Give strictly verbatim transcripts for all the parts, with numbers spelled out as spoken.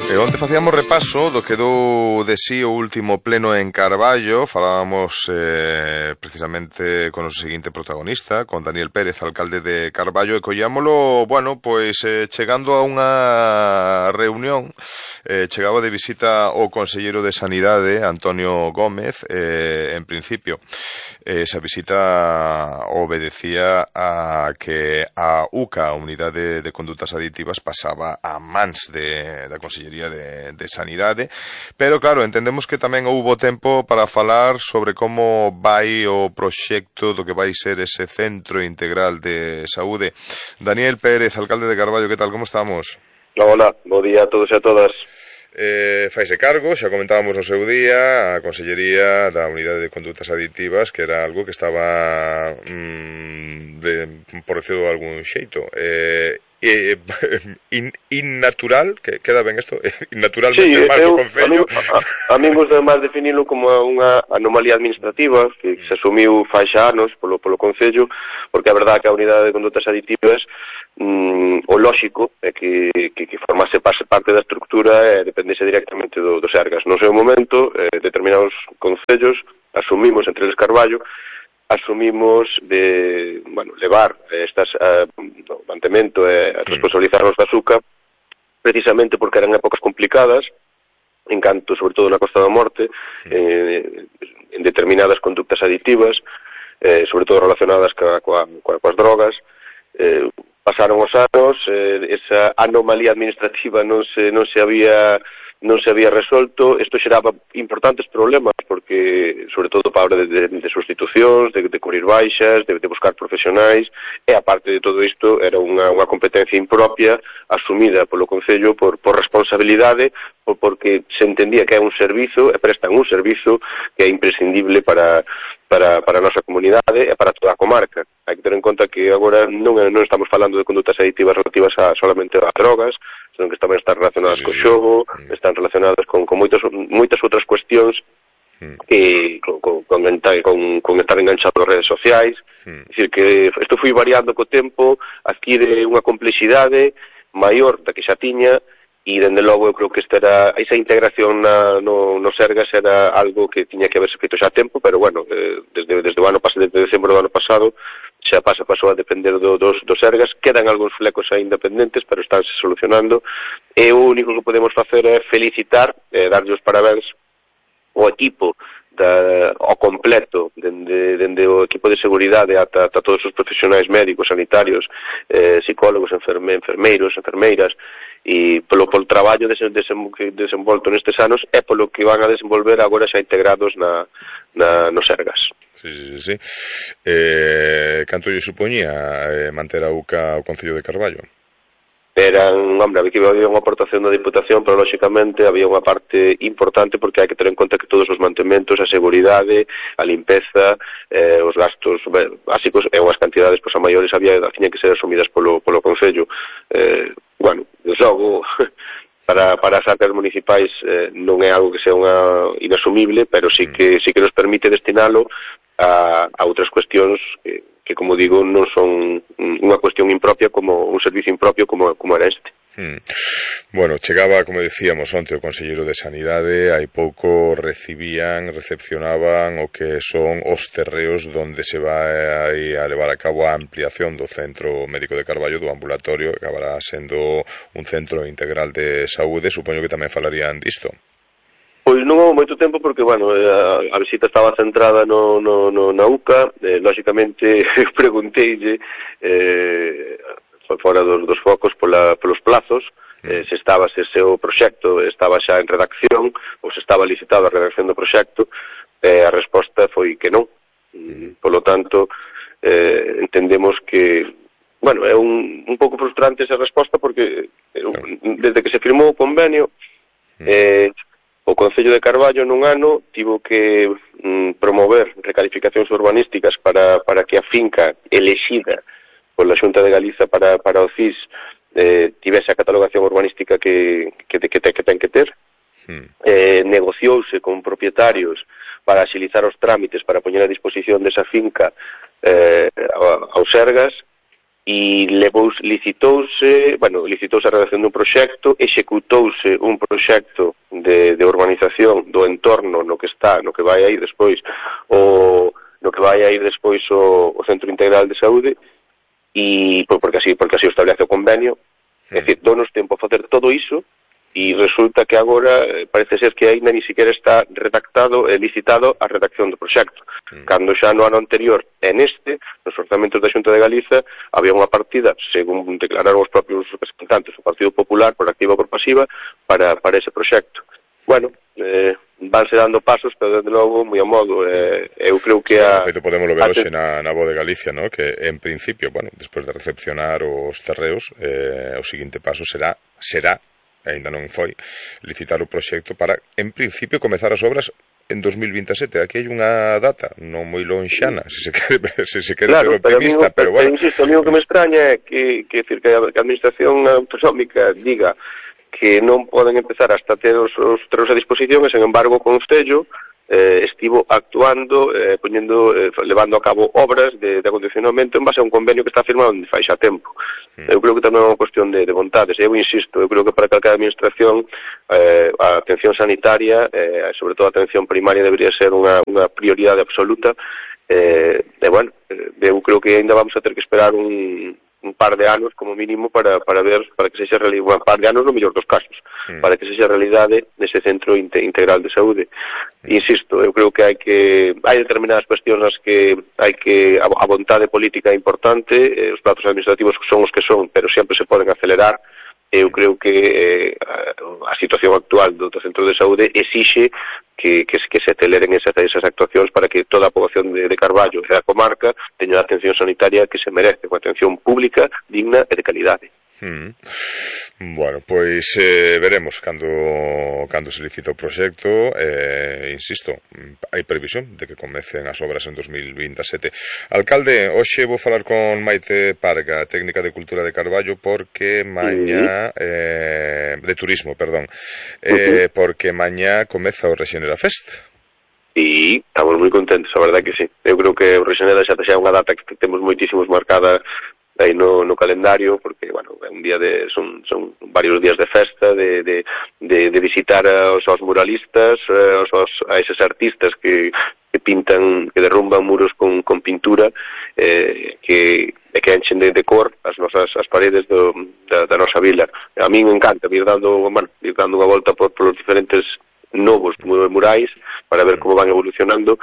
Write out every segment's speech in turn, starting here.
E onte facíamos repaso do que dou de sí o último pleno en Carballo. Falábamos eh, precisamente con o seguinte protagonista, con Daniel Pérez, alcalde de Carballo, e collámolo, bueno, pois eh, chegando a unha reunión. Eh, chegaba de visita o conselleiro de Sanidade, Antonio Gómez. Eh, en principio, eh, esa visita obedecía a que a UCA, a Unidade de Condutas Aditivas, pasaba a mans de, da Consellería De, de Sanidade, pero claro, entendemos que tamén houbo tempo para falar sobre como vai o proxecto do que vai ser ese centro integral de saúde. Daniel Pérez, alcalde de Carballo, que tal, como estamos? Hola, bo día a todos e a todas. Eh, faise cargo, xa comentábamos no seu día, a Consellería da Unidade de Condutas Aditivas, que era algo que estaba mm, de, por decirlo de algún xeito, eh, eh, in, innatural, que queda ben isto, innaturalmente sí, mal do Concello. A, a, a mí gusta máis definilo como unha anomalía administrativa que se asumiu fai xa anos polo, polo Concello, porque a verdade que a Unidade de Condutas Aditivas mm, o lóxico é que, que, que formase parte da estructura e dependese directamente do, do Sergas. No seu momento, eh, determinados concellos asumimos entre eles Carballo, asumimos de, bueno, levar estas uh, no, mantemento e uh, responsabilizarnos da SUCA precisamente porque eran épocas complicadas en canto, sobre todo na Costa da Morte, eh, en determinadas conductas aditivas, eh, sobre todo relacionadas ca, coa, coa, coas drogas. Eh, pasaron os anos, eh, esa anomalía administrativa non se, non se había non se había resolto. Isto xeraba importantes problemas porque, sobre todo, para de, de, de sustitucións, de, de cubrir baixas, de, de buscar profesionais, e aparte de todo isto era unha, unha competencia impropia asumida polo Concello por, por responsabilidade, por, porque se entendía que é un servizo, e prestan un servizo que é imprescindible para para, para a nosa comunidade e para toda a comarca. Hai que ter en conta que agora non, non estamos falando de condutas aditivas relativas a solamente a drogas, senón que tamén están relacionadas sí, co xogo, sí. están relacionadas con, con moitas, moitas outras cuestións sí. que con, con, con, con, con estar enganchado nas redes sociais. Sí. É dicir, que isto foi variando co tempo, adquire unha complexidade maior da que xa tiña, e dende logo eu creo que esta era, esa integración na, no, no Sergas era algo que tiña que haberse feito xa a tempo, pero bueno, eh, desde, desde o ano pasado, desde decembro do ano pasado, xa pasa, pasou a depender do, dos, dos Sergas. Quedan algúns flecos aí independentes, pero estánse solucionando, e o único que podemos facer é felicitar, eh, darlle os parabéns ao equipo da, ao completo, dende, dende o equipo de seguridade ata, ata todos os profesionais médicos, sanitarios, eh, psicólogos, enferme, enfermeiros, enfermeiras, e polo, polo traballo desen, desen, desenvolto nestes anos e polo que van a desenvolver agora xa integrados na, na, no Sergas. Sí, sí, sí. Eh, canto lle supoñía eh, manter a UCA o Concello de Carballo? Eran, hombre, aquí había unha aportación da Diputación, pero lógicamente había unha parte importante porque hai que ter en conta que todos os mantementos, a seguridade, a limpeza, eh, os gastos básicos e unhas cantidades pois, a maiores había, tiñan que ser asumidas polo, polo Concello. Eh, bueno, logo, para, para as arcas municipais eh, non é algo que sea unha inasumible, pero sí que, sí que nos permite destinalo a, a outras cuestións que, que, como digo, non son unha cuestión impropia como un servicio impropio como, como era este. Hmm. Bueno, chegaba, como decíamos onte, o conselleiro de Sanidade, hai pouco recibían, recepcionaban o que son os terreos donde se vai a levar a cabo a ampliación do Centro Médico de Carballo, do ambulatorio, que acabará sendo un centro integral de saúde. Supoño que tamén falarían disto. Pois non houve moito tempo porque, bueno, a, a visita estaba centrada no, no, no, na UCA, eh, lógicamente pregunteille eh, fora dos, dos focos pola, polos plazos, eh, se estaba, se ese o proxecto estaba xa en redacción ou se estaba licitado a redacción do proxecto, eh, a resposta foi que non. Polo tanto, eh, entendemos que, bueno, é un, un pouco frustrante esa resposta porque eh, desde que se firmou o convenio, eh, o Concello de Carballo nun ano tivo que mm, promover recalificacións urbanísticas para, para que a finca elexida pola Xunta de Galiza para, para o C I S eh, tivese a catalogación urbanística que, que, que, que ten que ter. Hmm. Eh, negociouse con propietarios para axilizar os trámites para poñer a disposición desa finca eh, aos Sergas, e levou, licitouse, bueno, licitouse a redacción dun proxecto, executouse un proxecto de, de urbanización do entorno no que está, no que vai aí despois o no que vai aí despois o, o Centro Integral de Saúde, e porque así, porque así o establece o convenio. É dicir, donos tempo a facer todo iso, e resulta que agora parece ser que ainda ni siquiera está redactado e licitado a redacción do proxecto, mm. cando xa no ano anterior e neste, nos orzamentos da Xunta de Galiza, había unha partida, según declararon os propios representantes do Partido Popular, por activa ou por pasiva, para, para ese proxecto. Bueno, eh, vanse dando pasos, pero desde logo, moi a modo, eh, eu creo que a... Sí, podemos lo ver hoxe na, na Voz de Galicia, ¿no? Que en principio, bueno, despois de recepcionar os terreos, eh, o seguinte paso será, será ainda non foi, licitar o proxecto para, en principio, comezar as obras en dos mil veintisiete. Aquí hai unha data non moi lonxana, se se quere, se se quere claro, ser optimista, pero, pero, bueno. Pero, insisto, o único que me extraña é que, que, que a Administración Autonómica diga que non poden empezar hasta ter os, os terreos a disposición e, sen embargo, con Concello eh, estivo actuando, eh, poñendo, eh, levando a cabo obras de, de acondicionamento en base a un convenio que está firmado onde fai xa tempo. Mm. Eu creo que tamén é unha cuestión de, de vontades. Eu insisto, eu creo que para calquera administración eh, a atención sanitaria, eh, sobre todo a atención primaria, debería ser unha, unha prioridade absoluta. Eh, e, bueno, eh, eu creo que ainda vamos a ter que esperar un... un par de anos como mínimo para, para ver, para que sexa realidade, un par de anos no mellor dos casos, mm. para que sexa realidade nese centro integral de saúde. Mm. Insisto, eu creo que hai que hai determinadas cuestións nas que hai que a, a vontade política é importante, eh, os plazos administrativos son os que son, pero sempre se poden acelerar. Eu creo que eh, a situación actual do, do centro de saúde exixe que, que, que se aceleren esas, esas actuacións para que toda a poboación de, de Carballo e da comarca teña a atención sanitaria que se merece, unha atención pública, digna e de calidade. Mm. Bueno, pois eh, veremos cando, cando se licita o proxecto. eh, insisto, hai previsión de que comecen as obras en dos mil veintisiete. Alcalde, hoxe vou falar con Maite Parga, técnica de Cultura de Carballo, porque mañá eh, de turismo, perdón eh, porque mañá comeza o Rexenera Fest. E estamos moi contentos, a verdade que sí. Eu creo que o Rexenera xa xa é unha data que temos moitísimos marcada aí no, no calendario, porque, bueno, é un día de, son, son varios días de festa, de, de, de, de visitar aos, aos muralistas, aos, aos, a eses artistas que, que pintan, que derrumban muros con, con pintura, eh, que, que enchen de, de cor as nosas as paredes do, da, da nosa vila. A mí me encanta ir dando, bueno, ir dando unha volta por, por os diferentes novos murais para ver como van evolucionando.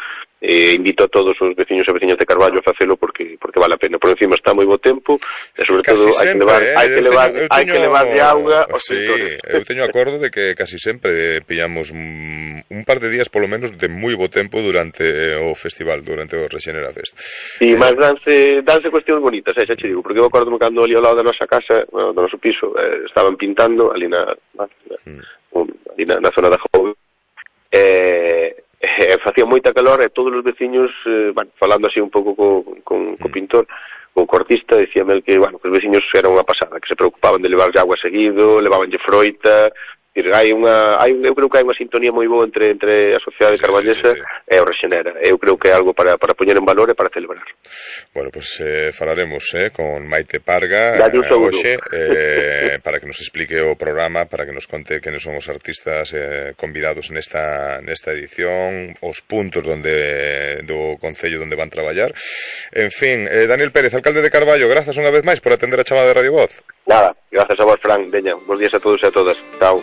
Eh, invito a todos os veciños e veciñas de Carballo a facelo porque porque vale a pena. Por encima está moi bo tempo e sobre casi todo hai que levar eh? hai que levar teño, hai que levar de auga aos sí, pintores. Eu teño acordo de que casi sempre pillamos un, un par de días polo menos de moi bo tempo durante o festival, durante o Rexenera Fest. Sí, eh, mas danse danse cuestións bonitas, eh, xa che digo, porque eu acordo cando ali ao lado da nosa casa, bueno, do noso piso, eh, estaban pintando ali na, na, mm. ali na, na zona da Jove. Eh Eh, facía moita calor e todos os veciños, eh, bueno, falando así un pouco co, con, co pintor, co cortista, dicíame que, bueno, que os veciños eran unha pasada, que se preocupaban de levarlle agua seguido, levabanlle froita. Hai unha, hai, eu creo que hai unha sintonía moi boa entre entre a sociedade sí, carballesa sí, sí, sí. e o Rexenera. Eu creo que é algo para, para poñer en valor e para celebrar. Bueno, pues eh, falaremos eh, con Maite Parga eh, hoxe, eh, para que nos explique o programa, para que nos conte quenes son os artistas eh, convidados nesta nesta edición, os puntos donde do Concello donde van traballar. En fin, eh, Daniel Pérez, alcalde de Carballo, grazas unha vez máis por atender a chamada de Radio Voz. Nada, gracias a vos, Fran. Veña, bons días a todos e a todas. Chao.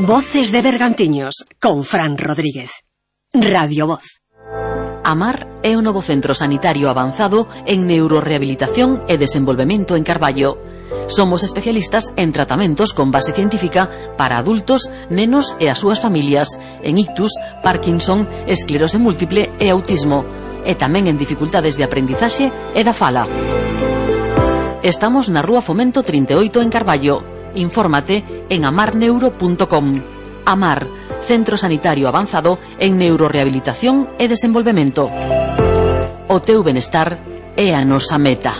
Voces de Bergantiños con Fran Rodríguez. Radio Voz. Amar é o novo centro sanitario avanzado en neurorehabilitación e desenvolvemento en Carballo. Somos especialistas en tratamentos con base científica para adultos, nenos e as súas familias en ictus, Parkinson, esclerose múltiple e autismo, e tamén en dificultades de aprendizaxe e da fala. Estamos na Rúa Fomento trinta e oito en Carballo. Infórmate en amar neuro punto com. Amar, centro sanitario avanzado en neurorehabilitación e desenvolvemento. O teu benestar é a nosa meta.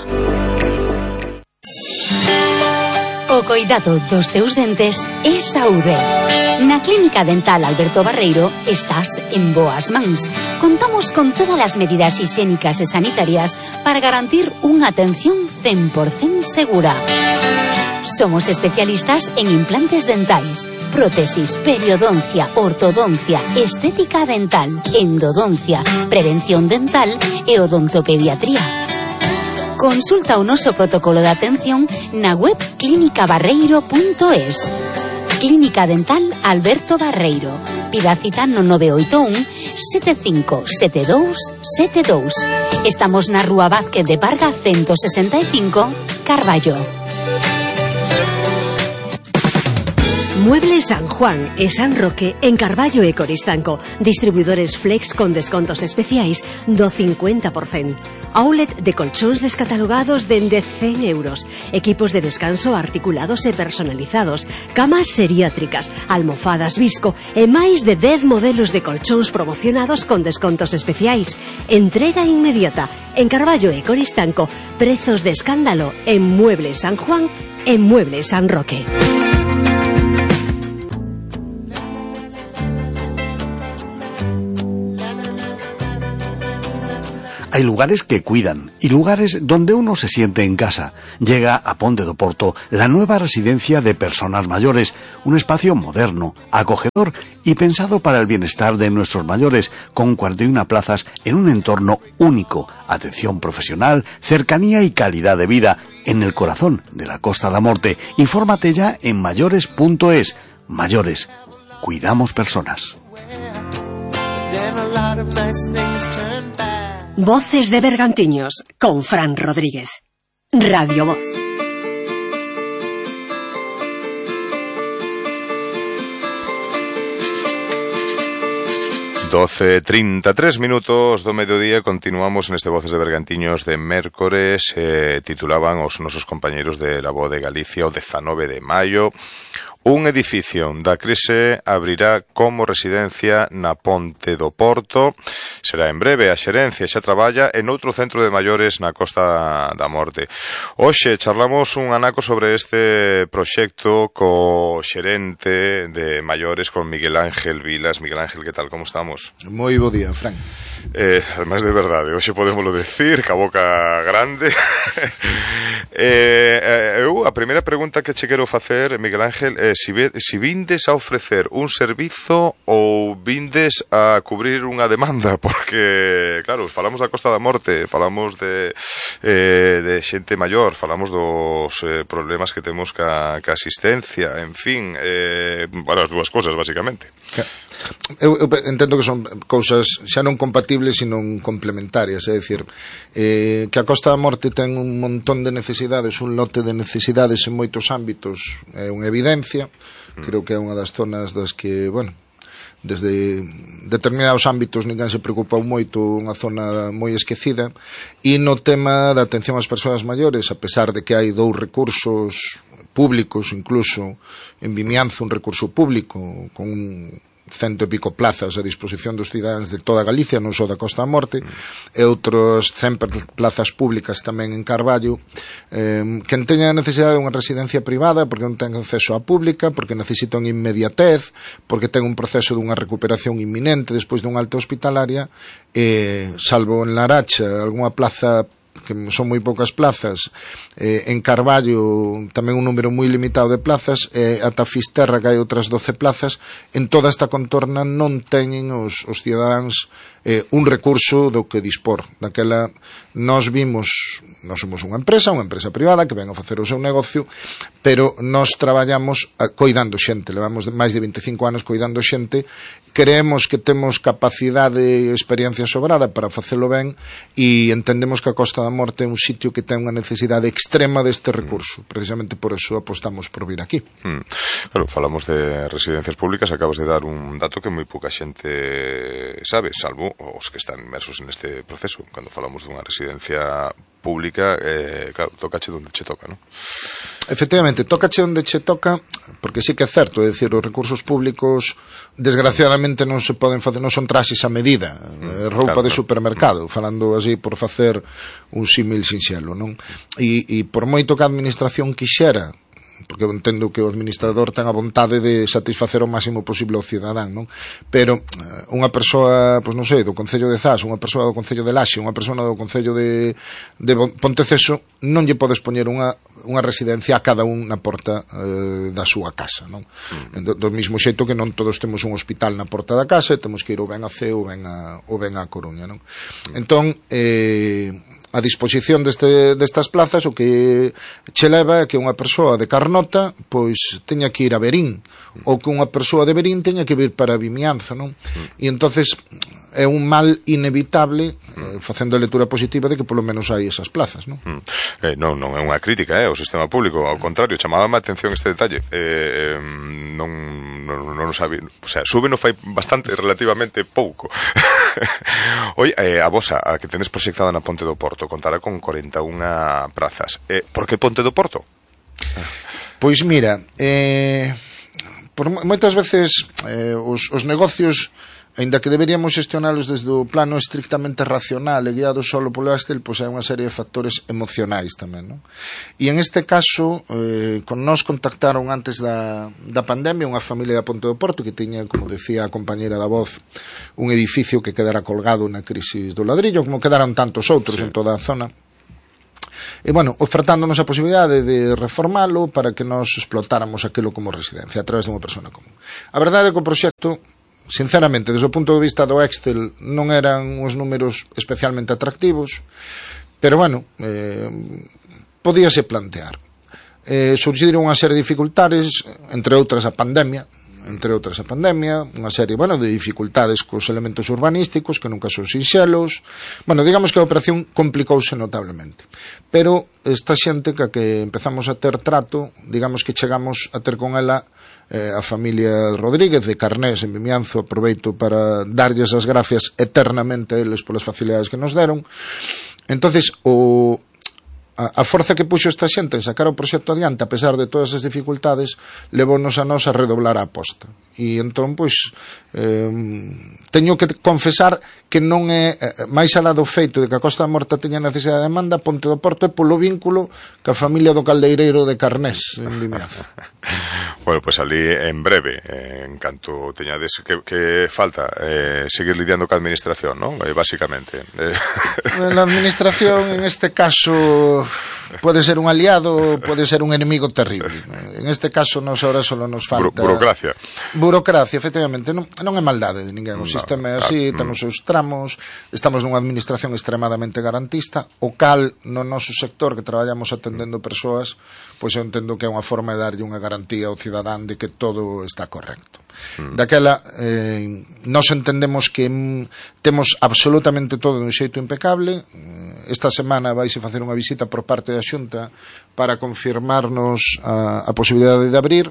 O coidado dos teus dentes é saúde. Na Clínica Dental Alberto Barreiro estás en boas mans. Contamos con todas as medidas higiénicas e sanitarias para garantir unha atención cen por cento segura. Somos especialistas en implantes dentais, prótesis, periodoncia, ortodoncia, estética dental, endodoncia, prevención dental e odontopediatría. Consulta o noso protocolo de atención na web clínica barreiro punto es. Clínica Dental Alberto Barreiro. Pida cita no nove oito un, sete cinco sete dous sete dous. Estamos na Rúa Vázquez de Parga ciento sesenta e cinco, Carballo. Muebles San Juan e San Roque en Carballo e Coristanco. Distribuidores Flex con descontos especiais do cincuenta por cento. Outlet de colchóns descatalogados dende cen euros. Equipos de descanso articulados e personalizados. Camas seriátricas, almofadas Visco e máis de dez modelos de colchóns promocionados con descontos especiais. Entrega inmediata. En Carballo e Coristanco, prezos de escándalo en Muebles San Juan e Muebles San Roque. Hay lugares que cuidan y lugares donde uno se siente en casa. Llega a Ponte do Porto la nueva residencia de personas mayores, un espacio moderno, acogedor y pensado para el bienestar de nuestros mayores, con cuarenta y una plazas en un entorno único, atención profesional, cercanía y calidad de vida en el corazón de la Costa da Morte. Infórmate ya en mayores punto es. Mayores, cuidamos personas. Voces de Bergantiños con Fran Rodríguez. Radio Voz. doce e trinta e tres minutos do mediodía. Continuamos neste Voces de Bergantiños de mércores. eh, Titulaban os nosos compañeros de La Voz de Galicia o dezanove de maio. Un edificio da crise abrirá como residencia na Ponte do Porto. Será en breve. A xerencia xa traballa en outro centro de maiores na Costa da Morte. Hoxe charlamos un anaco sobre este proxecto co xerente de maiores, con Miguel Ángel Vilas. Miguel Ángel, que tal, como estamos? Moi bo día, Fran. Eh, además de verdade, hoxe podémoslo decir, ca boca grande. eh, eu, a primeira pregunta que che quero facer, Miguel Ángel, é si, ve, si vindes a ofrecer un servizo ou vindes a cubrir unha demanda, porque, claro, falamos da Costa da Morte, falamos de, eh, de xente maior, falamos dos eh, problemas que temos ca, ca asistencia, en fin, eh, bueno, as dúas cosas, basicamente. Eu, eu entendo que son cousas xa non compatibles, sino complementarias, é dicir, eh, que a Costa da Morte ten un montón de necesidades, un lote de necesidades en moitos ámbitos, é unha evidencia. Creo que é unha das zonas das que, bueno, desde determinados ámbitos ninguén se preocupou moito, unha zona moi esquecida. E no tema da atención ás persoas maiores, a pesar de que hai dous recursos públicos, incluso en Vimianzo un recurso público con un cento e pico plazas a disposición dos cidadáns de toda Galicia, non só da Costa da Morte, mm. e outros cen plazas públicas tamén en Carballo. Eh, quen teña a necesidade de unha residencia privada porque non ten acceso á pública, porque necesita unha inmediatez, porque ten un proceso dunha recuperación inminente despois dunha alta hospitalaria, eh, salvo en Laracha, algunha plaza que son moi poucas plazas, eh, en Carballo tamén un número moi limitado de plazas, e eh, ata Fisterra que hai outras doce plazas. En toda esta contorna non teñen os, os cidadáns eh, un recurso do que dispor. Daquela nós vimos, nós somos unha empresa, unha empresa privada que ven a facer o seu negocio, pero nós traballamos a, coidando xente, levamos máis de veinticinco anos coidando xente. Creemos que temos capacidade e experiencia sobrada para facelo ben, e entendemos que a Costa da Morte é un sitio que ten unha necesidade extrema deste recurso. Precisamente por eso apostamos por vir aquí. Hmm. Claro, falamos de residencias públicas, acabas de dar un dato que moi pouca xente sabe, salvo os que están inmersos neste proceso. Cando falamos dunha residencia pública, eh, claro, tocache donde che toca, non? Efectivamente, tócache onde che toca, porque sí que é certo, é dicir, os recursos públicos desgraciadamente non se poden facer, non son traxes a medida, mm, roupa claro, de supermercado, mm. falando así por facer un símil sinxelo, non? E, e por moito que a administración quixera porque eu entendo que o administrador ten a vontade de satisfacer o máximo posible ao cidadán, non? Pero eh, unha persoa, pois non sei, do Concello de Zas, unha persoa do Concello de Laxe, unha persoa do Concello de, de Ponteceso, non lle podes poñer unha, unha residencia a cada un na porta eh, da súa casa, non? Mm. Do, do mismo xeito que non todos temos un hospital na porta da casa, temos que ir ou ben a Ceo ou ben a, ou ben a Coruña, non? Mm. Entón, eh, a disposición deste, destas plazas o que che leva é que unha persoa de Carnota pois teña que ir a Verín, ou que unha persoa de Verín teña que vir para Vimianzo, non? E entonces é un mal inevitable, eh, facendo a lectura positiva de que polo menos hai esas plazas, non? Mm. Eh, non, non é unha crítica, eh, ao sistema público, ao contrario, chamaba a atención este detalle. Eh, non, non, non sabe, o sea, sube no fai bastante, relativamente pouco. Oi, eh, a vosa, a que tenes proxectada na Ponte do Porto, contará con cuarenta e unha prazas. Eh, por que Ponte do Porto? Pois mira, eh, por moitas veces eh, os, os negocios, aínda que deberíamos gestionalos desde o plano estrictamente racional e guiado solo polo Excel, pois hai unha serie de factores emocionais tamén, non? E en este caso, eh, con nos contactaron antes da, da pandemia unha familia da Ponte do Porto que tiña, como decía a compañera da voz, un edificio que quedara colgado na crisis do ladrillo, como quedaron tantos outros sí. en toda a zona. E, bueno, ofertándonos a posibilidade de reformalo para que nos explotáramos aquilo como residencia a través de unha persona común. A verdade é que o proxecto, sinceramente, desde o punto de vista do Excel non eran uns números especialmente atractivos, pero, bueno, eh, podíase plantear. Eh, surgiron unha serie de dificultades, entre outras a pandemia, entre outras a pandemia, unha serie, bueno, de dificultades cos elementos urbanísticos que nunca son sinxelos. Bueno, digamos que a operación complicouse notablemente. Pero esta xente que, que empezamos a ter trato, digamos que chegamos a ter con ela eh, a familia Rodríguez de Carnés en Vimianzo. Aproveito para darlles as gracias eternamente a eles polas facilidades que nos deron. Entonces, o A, a forza que puxo esta xente en sacar o proxecto adiante, a pesar de todas as dificultades, levounos a nos a redoblar a aposta. E entón, pois, eh, teño que confesar que non é, eh, máis alá do feito de que a Costa da Morta teña necesidade de demanda, Ponte do Porto é polo vínculo ca familia do Caldeireiro de Carnés en Vimianzo. Bueno, pois pues ali en breve, eh, en canto teñades que, que falta eh, seguir lidiando ca administración, non? Eh, basicamente. Eh. A administración, en este caso, pode ser un aliado, pode ser un enemigo terrible. En este caso, nos ahora solo nos falta... Buro burocracia. Burocracia, efectivamente. Non, non é maldade de ninguén. O no, sistema é así, claro. Temos os tramos, estamos nunha administración extremadamente garantista, o cal, no noso sector, que traballamos atendendo persoas, pois eu entendo que é unha forma de darlle unha garantía ao cidadán de que todo está correcto. Mm. Daquela, eh, nos entendemos que mm, temos absolutamente todo de un xeito impecable. Esta semana vaise facer unha visita por parte da Xunta para confirmarnos a, a posibilidade de abrir,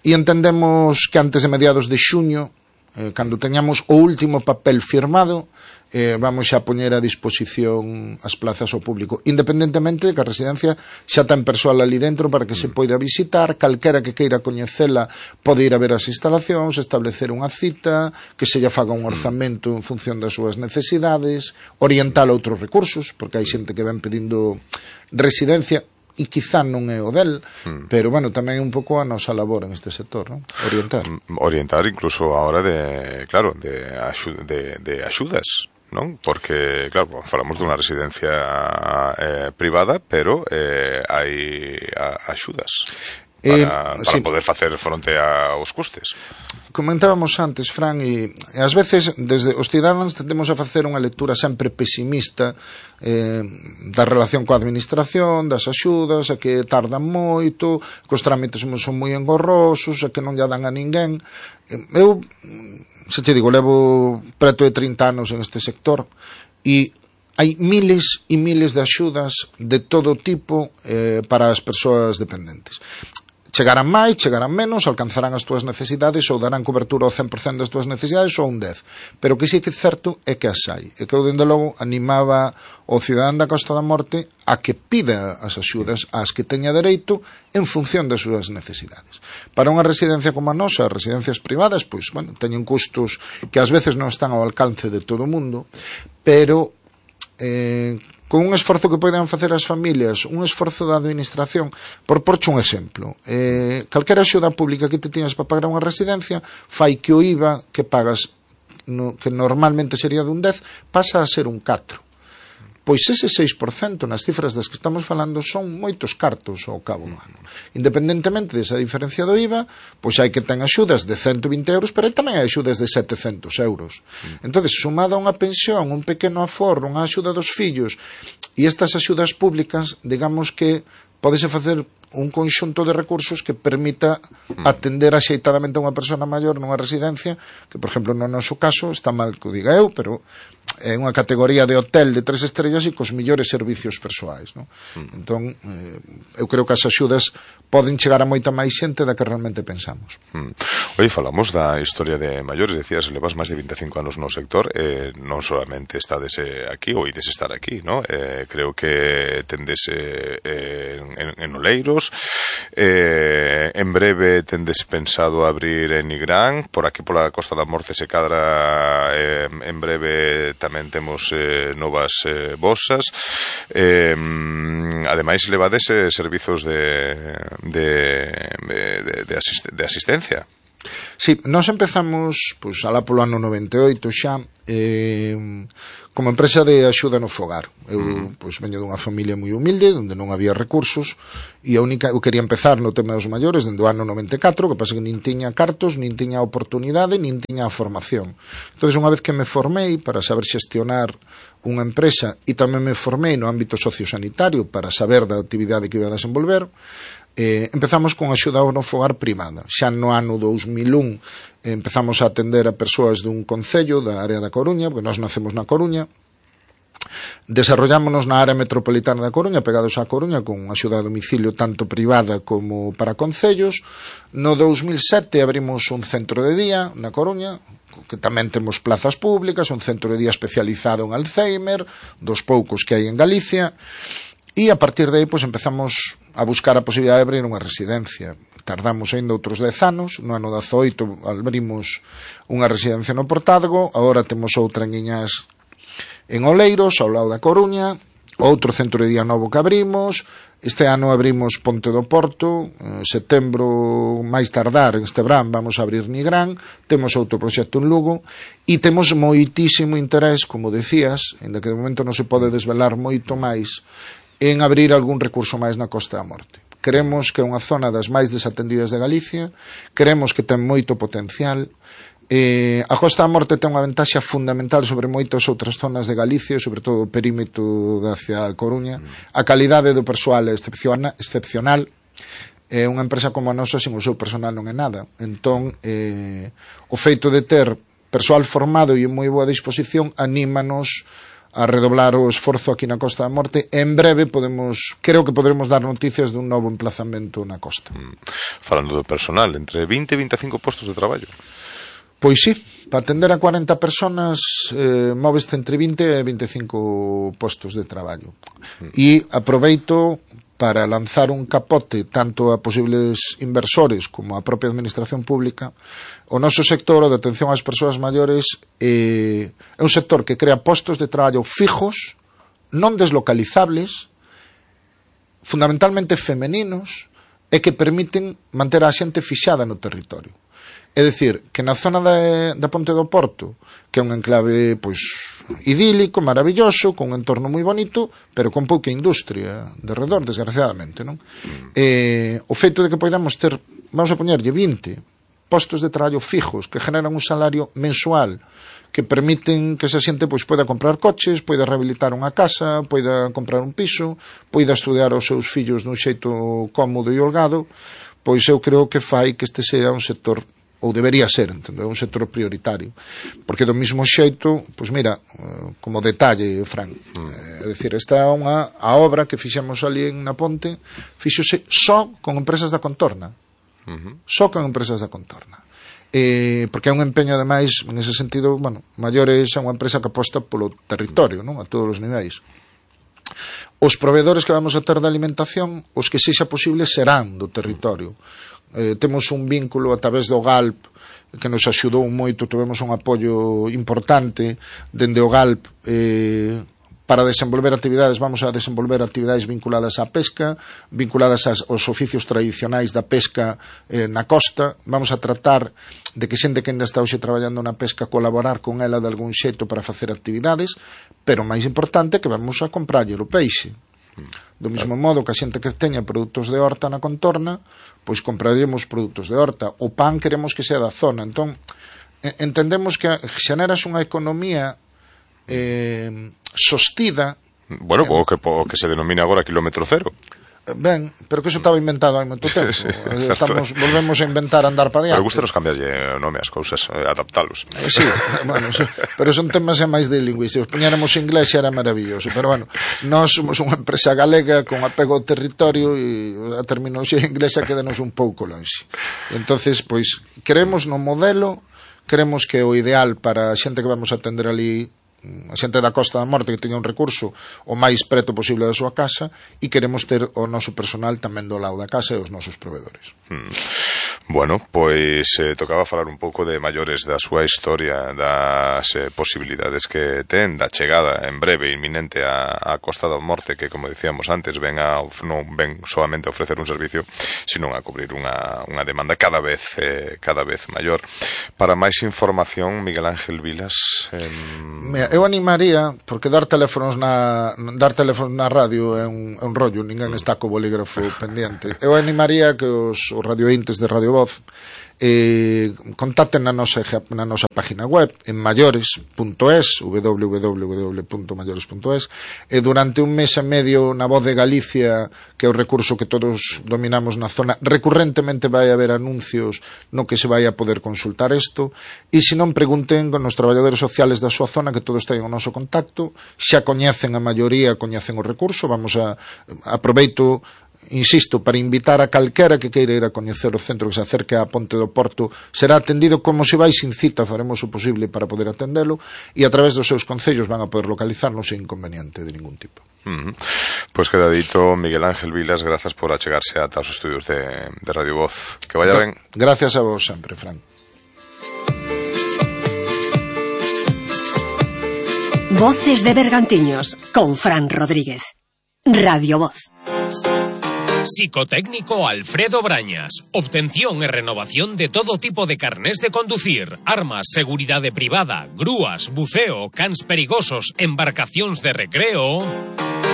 e entendemos que antes de mediados de xuño, eh, cando teñamos o último papel firmado, eh, vamos xa poñer a disposición as plazas ao público, independentemente de que a residencia xa ten persoal ali dentro para que se poida visitar. Calquera que queira coñecela pode ir a ver as instalacións, establecer unha cita, que se lle faga un orzamento en función das súas necesidades, orientar a outros recursos, porque hai xente que ven pedindo residencia e quizá non é o del, mm. pero, bueno, tamén é un pouco a nosa labor en este sector, non? Orientar. Orientar incluso a hora de, claro, de, axu- de, de axudas, non? Porque, claro, falamos dunha residencia eh, privada, pero eh, hai a, axudas para, eh, para sí. poder facer fronte aos custes. Comentábamos antes, Fran, e, e ás veces desde os cidadáns tendemos a facer unha lectura sempre pesimista eh, da relación coa administración, das axudas, a que tardan moito, que os trámites son moi engorrosos, a que non lle dan a ninguén. Eu, se te digo, levo preto de trinta anos en este sector e hai miles e miles de axudas de todo tipo eh, para as persoas dependentes. Chegarán máis, chegarán menos, alcanzarán as túas necesidades ou darán cobertura ao cen por cento das túas necesidades ou un dez. Pero o que sí que é certo é que as hai. E que eu, dende logo, animaba o cidadán da Costa da Morte a que pida as axudas ás que teña dereito en función das súas necesidades. Para unha residencia como a nosa, as residencias privadas, pois, bueno, teñen custos que ás veces non están ao alcance de todo o mundo, pero... Eh, con un esforzo que poden facer as familias, un esforzo da administración, por porche un exemplo. Eh, calquera axuda pública que te tiñas para pagar unha residencia, fai que o I V A que pagas, no, que normalmente sería dun dez, pasa a ser un catro. Pois ese seis por cento nas cifras das que estamos falando son moitos cartos ao cabo do ano. Independentemente desa diferencia do I V A, pois hai que ten axudas de ciento vinte euros, pero tamén hai axudas de setecentos euros. Entón, sumada a unha pensión, un pequeno aforro, unha axuda dos fillos, e estas axudas públicas, digamos que podese facer un conxunto de recursos que permita atender axeitadamente a unha persona maior nunha residencia, que, por exemplo, no noso caso, está mal que o diga eu, pero é unha categoría de hotel de tres estrellas e cos millores servicios persoais, non? Mm. Entón, eh, eu creo que as axudas poden chegar a moita máis xente da que realmente pensamos. Mm. Oye, falamos da historia de maiores, decías, levas máis de veinticinco anos no sector, eh, non solamente estades eh, aquí, ou ides estar aquí, ¿no? Eh, creo que tendes eh, eh, en, en Oleiros, eh, en breve tendes pensado abrir en Nigrán, por aquí pola Costa da Morte se cadra, eh, en breve tamén temos eh, novas eh, bosas, eh, ademais levades eh, servizos de de, de, de, asist de asistencia. Sí, nós empezamos pois, alá polo ano noventa e oito xa eh, como empresa de axuda no fogar. Eu mm. pois, veño dunha familia moi humilde onde non había recursos e a única, eu quería empezar no tema dos maiores dende o ano noventa e catro, que pasa que nin tiña cartos, nin tiña oportunidade, nin tiña a formación. Entón, unha vez que me formei para saber xestionar unha empresa e tamén me formei no ámbito sociosanitario para saber da actividade que iba a desenvolver, Eh, empezamos con axuda no fogar privada. Xa no ano dous mil un eh, empezamos a atender a persoas dun concello da área da Coruña, porque nós nacemos na Coruña. Desarrollámonos na área metropolitana da Coruña, pegados á Coruña, con axuda a domicilio tanto privada como para concellos. No dous mil sete abrimos un centro de día na Coruña, que tamén temos plazas públicas, un centro de día especializado en Alzheimer, dos poucos que hai en Galicia. E a partir de aí pois, empezamos a buscar a posibilidade de abrir unha residencia. Tardamos ainda outros dez anos, no ano dezaoito abrimos unha residencia no Portádego, agora temos outra en Iñás en Oleiros, ao lado da Coruña, outro centro de día novo que abrimos, este ano abrimos Ponte do Porto, en setembro máis tardar, este verán vamos a abrir Nigrán, temos outro proxecto en Lugo, e temos moitísimo interés, como decías, ainda que de momento non se pode desvelar moito máis, en abrir algún recurso máis na Costa da Morte. Creemos que é unha zona das máis desatendidas de Galicia, creemos que ten moito potencial. Eh, a Costa da Morte ten unha ventaxa fundamental sobre moitas outras zonas de Galicia, sobre todo o perímetro hacia a Coruña. A calidade do persoal é excepcional. É unha empresa como a nosa, sin o seu personal non é nada. Entón, eh, o feito de ter persoal formado e en moi boa disposición anímanos a redoblar o esforzo aquí na Costa da Morte. En breve podemos, creo que podremos dar noticias dun novo emplazamento na costa. Mm. Falando do personal, entre vinte e veinticinco postos de traballo. Pois sí, para atender a cuarenta personas eh, móveste entre vinte e veinticinco postos de traballo. Mm. E aproveito para lanzar un capote tanto a posibles inversores como a propia administración pública. O noso sector, o de atención ás persoas maiores, eh, é un sector que crea postos de traballo fijos, non deslocalizables, fundamentalmente femeninos, e que permiten manter a xente fixada no territorio. É dicir, que na zona da, da Ponte do Porto, que é un enclave pois, idílico, maravilloso, con un entorno moi bonito, pero con pouca industria de redor, desgraciadamente, non? Eh, o feito de que podamos ter, vamos a poñerlle vinte postos de traballo fijos que generan un salario mensual que permiten que esa xente pois, poida comprar coches, poida rehabilitar unha casa, poida comprar un piso, poida estudiar os seus fillos dun xeito cómodo e holgado, pois eu creo que fai que este sea un sector, ou debería ser, entendo, é un sector prioritario, porque do mismo xeito, pois mira, como detalle, Fran, mm. é dicir, esta é unha a obra que fixemos ali en na Ponte, fixose só con empresas da contorna, mm-hmm. só con empresas da contorna, eh, porque é un empeño ademais, en ese sentido, bueno, Maiores é unha empresa que aposta polo territorio, non, a todos os niveis. Os proveedores que vamos a ter de alimentación, os que sexa posible serán do territorio. Eh, temos un vínculo a través do Galp que nos axudou moito, tivemos un apoio importante dende o Galp eh, para desenvolver actividades, vamos a desenvolver actividades vinculadas á pesca, vinculadas aos oficios tradicionais da pesca eh, na costa. Vamos a tratar de que xente que ainda está hoxe traballando na pesca colaborar con ela de algún xeito para facer actividades, pero máis importante que vamos a comprarlle o peixe. Do mesmo modo que a xente que teña produtos de horta na contorna, pois compraremos produtos de horta. O pan queremos que sea da zona. Entón, entendemos que xeneras unha economía eh, sostida. Bueno, eh, o, que, o que se denomina agora kilómetro cero. Ben, pero que eso estaba inventado hai moito tempo. Sí, Estamos, volvemos a inventar andar para diante. Pero gusta nos cambiarlle nome ás cousas, eh, adaptalos. Eh, sí, bueno, sí, pero son temas máis de lingüística. Se os poñéramos inglés xa era maravilloso, pero bueno, nós somos unha empresa galega con apego ao territorio e a terminoloxía inglesa quedanos un pouco longe. Entonces, pois, queremos no modelo, queremos que o ideal para a xente que vamos a atender ali, a xente da Costa da Morte, que teña un recurso o máis preto posible da súa casa, e queremos ter o noso personal tamén do lado da casa e os nosos provedores. Hmm. Bueno, pois eh, tocaba falar un pouco de maiores da súa historia, das eh, posibilidades que ten da chegada en breve inminente a, a Costa da Morte, que, como dicíamos antes, ven a, non ven solamente a ofrecer un servicio, sino a cubrir unha, unha demanda cada vez eh, cada vez maior. Para máis información, Miguel Ángel Vilas... Eh... Mira, eu animaría, porque dar teléfonos na dar teléfonos na radio é un, é un rollo, ninguén está co bolígrafo pendiente. Eu animaría que os, os radiointes de Radio Voz eh, contacten na nosa, na nosa página web en maiores punto es, w w w punto maiores punto es, e durante un mes e medio na Voz de Galicia, que é o recurso que todos dominamos na zona, recurrentemente vai haber anuncios no que se vai a poder consultar isto, e se non pregunten con os traballadores sociales da súa zona, que todos teñen o noso contacto, xa coñecen a maioría, coñecen o recurso. Vamos a aproveito, insisto, para invitar a calquera que queira ir a coñecer o centro, que se acerque a Ponte do Porto, será atendido como se vai sin cita. Faremos o posible para poder atendelo, e a través dos seus concellos van a poder localizarnos sin inconveniente de ningún tipo. Uh-huh. Pois queda dito, Miguel Ángel Vilas, grazas por achegarse ata os estudios de, de Radio Voz. Que vaya ben. Gracias a vos sempre, Fran. Voces de Bergantiños con Fran Rodríguez. Radio Voz. Psicotécnico Alfredo Brañas. Obtención e renovación de todo tipo de carnés de conducir, armas, seguridade privada, grúas, buceo, cans perigosos, embarcacións de recreo.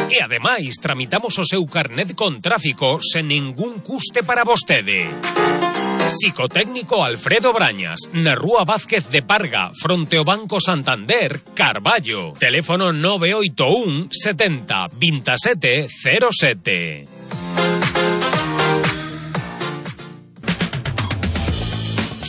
E ademais tramitamos o seu carnet con tráfico sen ningún custe para vostede. Psicotécnico Alfredo Brañas, na Rúa Vázquez de Parga, fronte ao Banco Santander, Carballo. Teléfono nove oito un setenta veintisiete cero sete.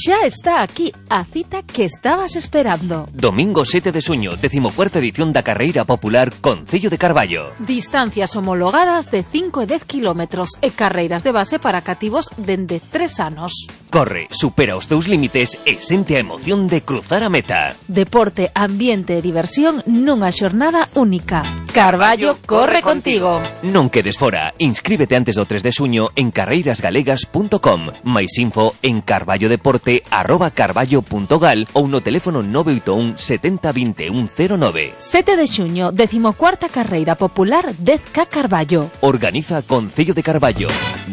Xa está aquí a cita que estabas esperando. Domingo sete de xuño, decimocuarta edición da Carreira Popular Concello de Carballo. Distancias homologadas de cinco e dez kilómetros e carreiras de base para cativos dende tres anos. Corre, supera os teus límites e sente a emoción de cruzar a meta. Deporte, ambiente e diversión nunha xornada única. Carballo corre contigo. Non quedes fora. Inscríbete antes do tres de xuño en carreiras galegas punto com. Mais info en carballodeporte arroba carballo punto gal ou no teléfono nove oito un setenta veintiuno cero nove. sete de xuño, decimocuarta Carreira Popular dez K Carballo. Organiza Concello de Carballo.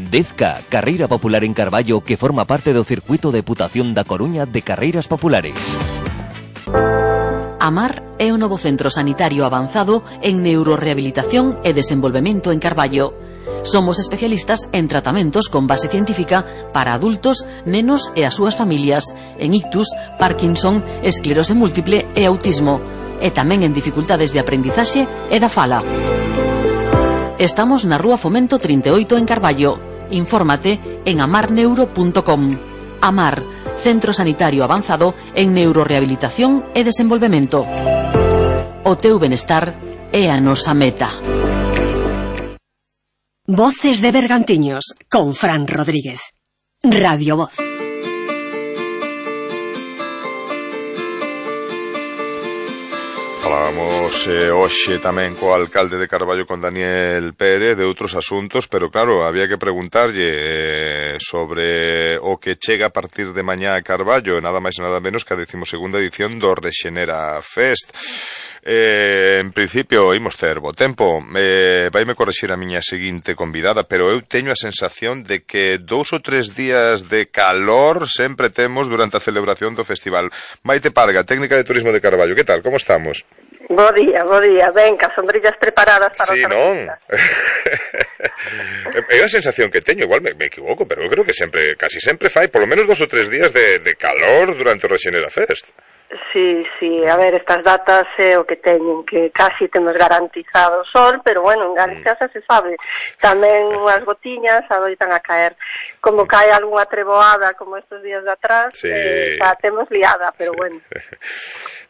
dez K, Carreira Popular en Carballo, que forma parte do Circuito de Deputación da Coruña de Carreiras Populares. AMAR é o novo centro sanitario avanzado en neurorehabilitación e desenvolvemento en Carballo. Somos especialistas en tratamentos con base científica para adultos, nenos e as súas familias, en ictus, Parkinson, esclerose múltiple e autismo, e tamén en dificultades de aprendizaxe e da fala. Estamos na Rúa Fomento trinta e oito en Carballo. Infórmate en amar neuro punto com. AMAR, Centro Sanitario Avanzado en Neurorehabilitación e Desenvolvemento. O teu benestar é a nosa meta. Voces de Bergantiños con Fran Rodríguez. Radio Voz. Falábamos eh, hoxe tamén co alcalde de Carballo, con Daniel Pérez, de outros asuntos, pero claro, había que preguntarlle eh, eh, sobre o que chega a partir de mañá a Carballo, nada máis e nada menos que a decimosegunda edición do Rexenera Fest. Eh, en principio imos ter bo tempo. eh, Vaime correxir a miña seguinte convidada, pero eu teño a sensación de que dous ou tres días de calor sempre temos durante a celebración do festival. Maite Parga, técnica de turismo de Carballo, que tal, como estamos? Bo día, bo día, ben, cas sombrillas preparadas para sí, os non? artistas. É a sensación que teño, igual me, me equivoco, pero eu creo que sempre, casi sempre fai polo menos dos ou tres días de, de calor durante o Rexenera Fest. Sí, sí, a ver, estas datas é o que teñen, que casi temos garantizado o sol, pero bueno, en Galicia xa se sabe, tamén unhas gotiñas adoitan a caer, como cae algunha treboada como estes días de atrás, sí. eh, xa temos liada, pero sí. bueno.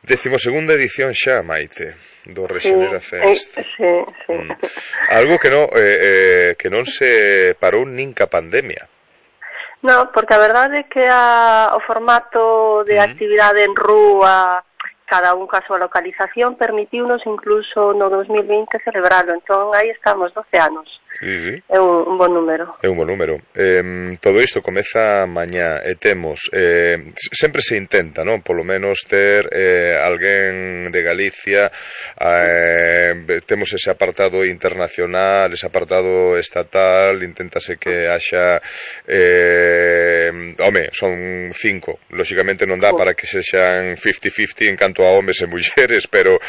Decimosegunda edición xa, Maite, do Rexenera sí, Fest. Eh, sí, sí. Mm. Algo que non, eh, eh, que non se parou nin ca pandemia. No, porque a verdade é que a, o formato de uh-huh. actividade en rúa, cada un ca súa localización, permitiunos incluso no dos mil vinte celebralo. Entón, aí estamos, doce anos. Sí, sí. É un, un bon número. É un bon número. Eh, todo isto comeza mañá e temos, eh, sempre se intenta, non? Polo menos ter eh, alguén de Galicia, eh, temos ese apartado internacional, ese apartado estatal, inténtase que haxa, eh, home, son cinco, lóxicamente non dá para que sexan cincuenta cincuenta en canto a homes e mulleres, pero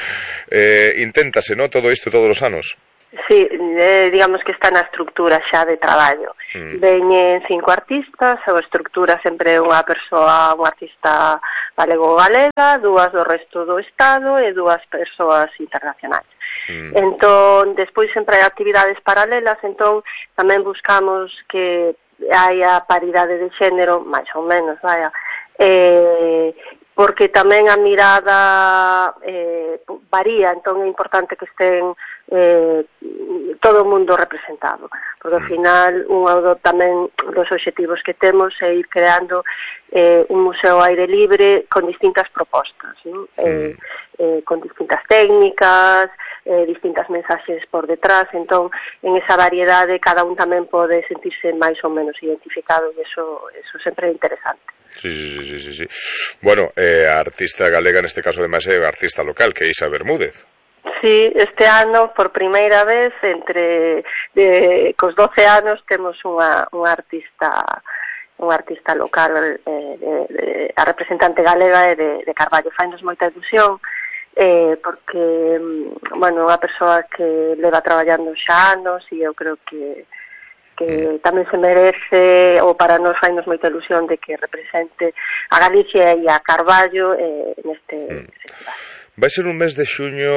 eh, inténtase, non? Todo isto todos os anos. Sí, eh, digamos que está na estructura xa de traballo. Mm. Veñen cinco artistas, a estructura sempre é unha persoa, un artista galego-galega, dúas do resto do Estado e dúas persoas internacionais. Mm. Entón, despois sempre hai actividades paralelas, entón tamén buscamos que haya paridade de xénero, máis ou menos, vaya, eh, porque tamén a mirada eh, varía, entón é importante que estén eh, todo o mundo representado, porque ao final un do tamén dos obxectivos que temos é ir creando eh, un museo ao aire libre con distintas propostas, ¿no? mm. eh, eh, con distintas técnicas, eh, distintas mensaxes por detrás, entón en esa variedade cada un tamén pode sentirse máis ou menos identificado e eso, eso sempre é interesante. Sí, sí, sí, sí, sí. Bueno, eh, a artista galega neste caso ademais é artista local, que é Isa Bermúdez. Sí, este ano por primeira vez entre de, cos doce anos temos unha, unha artista un artista local, eh, de, de, a representante galega é de, de Carballo. Fainos moita ilusión eh, porque, bueno, unha persoa que leva traballando xa anos e eu creo que que tamén se merece, ou para nós fainos moita ilusión de que represente a Galicia e a Carballo eh, neste festival. Vai ser un mes de xuño